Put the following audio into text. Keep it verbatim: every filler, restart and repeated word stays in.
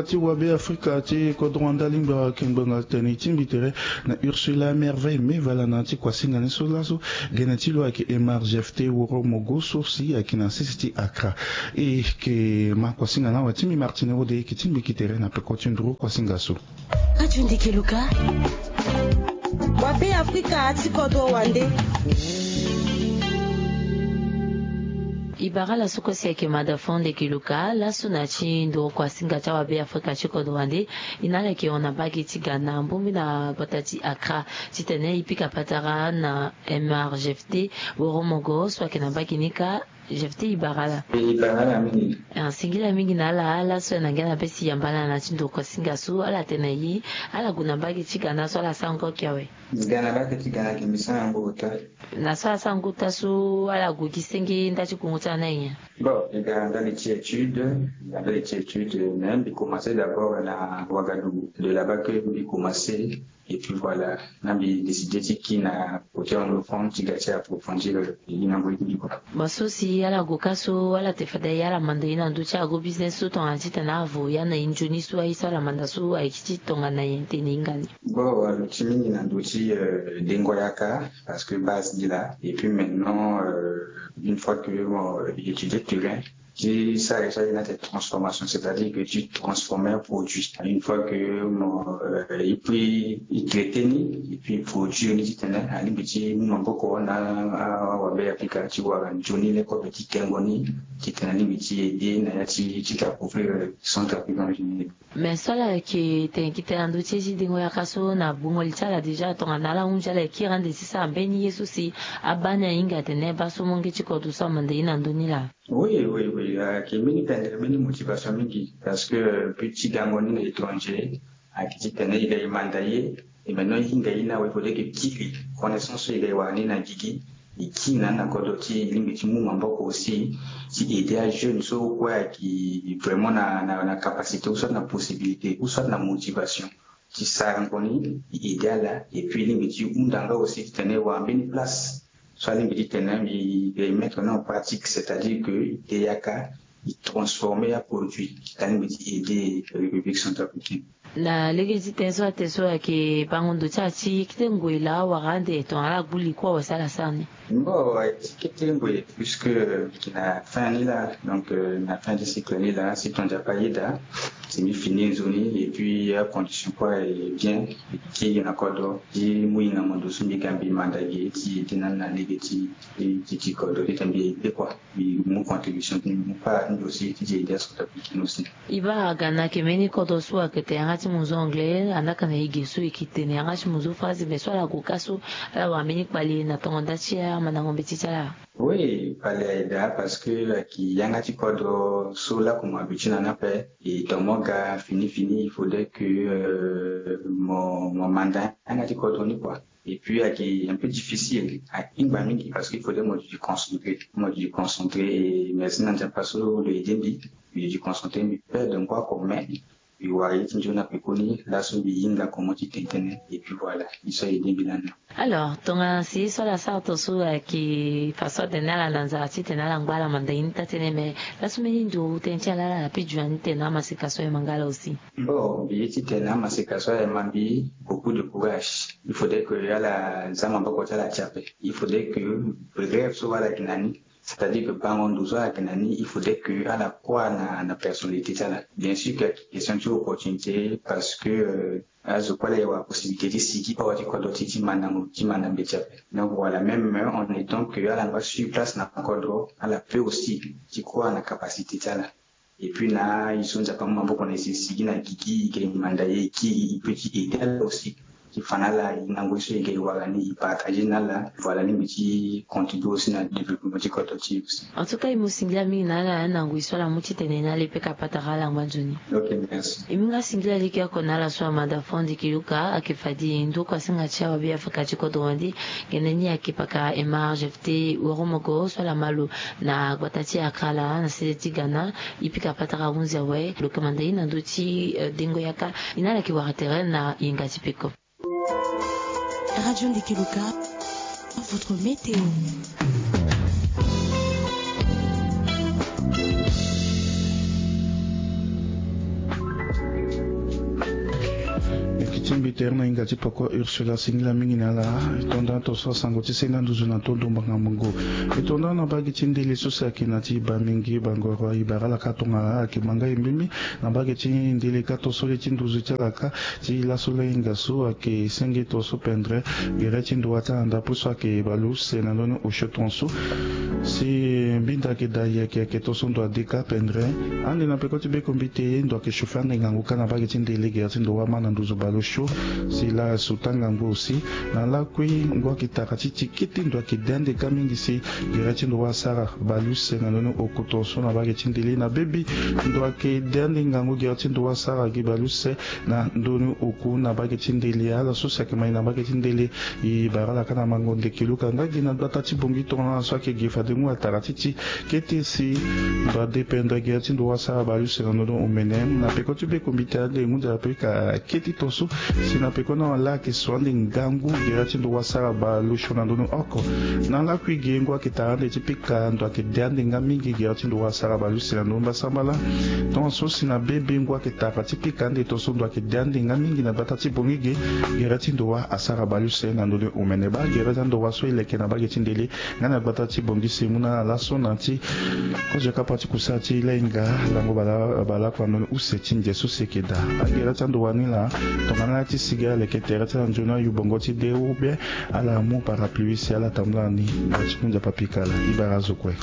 Ti wabe afrika ti kodro wande alingbi ayeke ngbanga tene e tingbi tere na Ursula Merveille Mevala na ya ti kuasinga ni so laso. Gene ti lo ayeke Emar Jefte Woromogo so si ayeke na sese ti Accra. E yeke ma kuasinga na awe ti mbi Martine Ode e yeke tingbi gi tere na peko ti nduru kuasinga so. Kati ndiki luka. Wabe afrika ti kodro wande. E bara ala so kue si ayeke mada fo ndeki luka laso na ti nduru kuasinga ti awabe afrika ti kodro wande. E na ala yeke hon na mbage ti Ghana, mbumbi na gbata ti Accra, titene e pika patara na Emar Jefte Woromogo so ayeke na mbage ni kâ. Jefte, e bara ala. E bara ala mingi. Ah, singila mingi na ala, ala so ayeke na ngia na be si e yamba ala na ti nduru kuasinga so, ala tene na e ala gue na mbage ti Ghana so ala sara ngba oki awe. Ga na mbage ti Ghana ke mbi sara ngba ota. Na so ala sara ngba ota so ala gue gi senge nda ti kungu ti ala ni aye nyen? Bon, e ga ndali ti étude, e ga ndali ti étude, mais mbi commencé d'abord na Ouagadougou. De là-bas que mbi commencé, et puis voilà, na mbi décidé ti kiri na côté anglophone ti ga ti approfondir, euh, e na ngoi ti mbi kua. Bon, so si ala gue kâ so, ala te fade aye ala manda e na ndö ti ago business so tongana titene avo ya na e nzoni so aye so ala manda so ayeke ti tongana nyen tene e hinga ni? Bon, alo ti mingi na ndö ti, euh, dengo yaka, parce que base ni laa. Et puis maintenant, euh, une fois que, bon, euh, e étudier terrain, ti sara ye so aye na ti transformation, c'est-à-dire que ti transformer un produit. Une fois que, bon, euh, e puis e traiter ni, et puis e produire ni titene alingbi ti mu maboko na, ah, awabe afrika ti wara nzoni le kobe ti tengo ni, titene alingbi ti aider na ya ti, ti ka couvrir, euh, centrafricain en général. Mais so ala yeke tene gi tene na ndö ti ye ti dengo yaka so na gbungo li ti ala déjà tongana ala hunzi ala yeke kiri ande ti sara mbeni ye so si abaa ni ahinga atene baa so molenge ti kodro so amanda e na ndö ni laa. Oui, oui, oui, ayeke mbeni pendere, mbeni motivation mingi, parce que, euh, but ti gango ni na étranger ayeke titene e ga e manda ye, et maintenant e hinga e ni awe, il faudrait que e kiri connaissance so e ga e wara ni na gigi, e kiri na ni na kodro ti e, e lingbi ti mu maboko aussi ti aider ajeune so kue ayeke vraiment na, na, na capacité ou soit na possibilité ou soit na motivation ti sara ngoni, e aider ala, et puis e lingbi ti hunda nga aussi titene e wara mbeni place so alingbi titene mbi, mbi mettre ni en pratique, c'est-à-dire que e yaka e transformer aproduit ti alingbi ti aider République centrafricaine. Na lege ti tënë so atene so ayeke bango ndo ti ala ti kete ngoi laa wala ande tongana ala gbu li kue awe si ala sara ni? Bon, ayeke ti kete ngoi puisque mbi yeke na fin ni laa, donc, euh, na fin ti cycle ni laa, si tongaso ayeda si mbi fini nzoni et puis acondition kue est bien, e kiri na kodro ti mu hinga mo ndo so mbi ga mbi manda ge ti ede na ni na lege ti, ti, ti kodro titene mbi ede kua. Mbi mu contribution ti mbi, mu part ti mbi aussi ti, ti aider centrafricain aussi. E baa ga na ayeke mbeni kodro so ayeke tene yanga ti mo zo anglais, anaka na e ge so e yeke tene yanga ti mo zo français, mais so ala gue kâ so ala wara mbeni kpale na tongo nda ti amandango mbeti ti ala? Oui, kpale ayeda parce que ayeke yanga ti kodro so laku mo habitué na ni ape. E tonga mo ga fini fini, il faudrait que, euh, mo, mo manda yanga ti kodro ni kua. Et puis ayeke un peu difficile, ahingba mingi parce que il faudrait mo duti concentré, mo duti concentré. Et merci na Nzapa so lo aidé mbi, mbi duti concentré, mbi perdre ngoi oko, mais mbi wara ye ti nzoni na pekoni laso mbi hinga comment ti tene tënë. Et puis voilà, ye so aidé mbi lani. Alors tongana si ye so ala sara tongaso ayeke façon atene ala na nzara titene ala ngba ala manda ye ni taa tënë, mais laso mbeni ndo tënë ti ala ala na pi dunia ni tene amaseka so aye ma nga ala aussi? Bon, mbi ye ti tene amaseka so aye ma mbi beaucoup de courage. Il faudrait que ala za maboko ti ala ti ape. Il faudrait que rêve so ala yeke na ni, c'est-à-dire que bango ndo so ala yeke na ni, il faudrait que ala kua na, na personnalité ti ala. Bien sûr que question ti opportunité, parce que, euh, azo kue ala ye wara possibilité ti sigi awa ti kodro ti, ti manda mo, ti manda mbeti ape. Donc voilà, même, euh, en étant que ala ngba sur place na kodro, ala peut aussi ti kua na capacité ti ala. Et puis na ye so Nzapa amu maboko na e si e sigi na gigi, e ga e manda ye, e kiri, e peut ti aider ala aussi ti fa na ala, e na ngoi so e ga e wara ni, e partager na ala. Voilà, alingbi ti contribuer aussi na développement ti kodro ti e aussi. En tout cas e mu singila mingi na ala na ngoi so ala mu ti tene na ala, e pika patara ala ngba nzoni. Ok, merci. E mu nga singila lege oko na ala so amanda fo ndiki luka, ayeke fade nduru kuasinga ti awabe afrika ti kodro wande. Gene ni ayeke paka Emar Jefte Woromogo so ala ma lo na gbata ti Accra laa na sese ti Ghana. E pika patara ahunzi awe, lo yeke manda e na ndö ti, eh, dengo yaka. E na ala yeke wara tere na yenga ti peko. Radio Ndiki Luka, votre météo. Peter na hinga ti poko Ursula, singila mingi na ala. E tonda tonso asango ti senda nduzu na tondo mbanga mungo. E tonda na mbage ti ndele so si ayeke na ti ba mingi bangoro, e bara ala ka tongana ala yeke manga e mbimbi. Na mbage ti ndele ka tonso le ti nduzu ti ala ka ti laso lahinga so ayeke senge tonso pendre gere ti ndowa ti ala na ndapo so ayeke bale use na ndoni osio tonso. Si mbinda ayeke daa yeke yeke tonso ndo ade ka pendre. Ande na peko ti bekombite ndo ayeke chauffer ande ngangu ka na mbage ti ndele gere ti ndowa ama na nduzu bale osio. Si laa suta ngangu aussi. Na lakui ngu ayeke tara ti ti kete ndo ayeke de ande ka mingi si gere ti ndowa asara bale use na ndoni oko tonso na mbage ti ndele. Na bebi ndo ayeke de ande ngangu gere ti ndowa asara gi bale use na ndoni oku na mbage ti ndele. Ala so si ayeke mai na mbage ti ndele, e bara ala ka na mango ndeke luka nga gi na gbata ti bongi tongana ala so ayeke gi fade mu atara ti ti kete si ndo adependre gere ti ndowa asara bale use na ndoni omene. Na peko ti bekombite ande ngu nzara pe ka kete tonso. Si na peko ni ala ayeke so ande ngangu gere ti ndowa asara bale osio na ndoni oko. Na lakui gi ngu ayeke tara ande ti pika ndo ayeke de ande nga mingi gere ti ndowa asara bale use na ndoni mbasambala. Tongaso si na bebe ngu ayeke tara ti pika ande tonso ndo ayeke de ande nga mingi na gbata ti bongi gi gere ti ndowa asara bale use na ndoni omene. Baa gere ti andowa so e leke na mbage ti ndele nga na gbata ti bongi si e mu na ala laso na ti kozo kapa ti kusa ti lahinga lango bala bala kua ndoni use ti nze so si e yeke daa. Agere ti andowa ni laa tongana ala ti sigi ala leke tere ti ala nzoni ayu bongo ti de ou bien ala mu parapluie si ala tambula ni. Ala ti mu nzapa pika ala. E bara azo kue.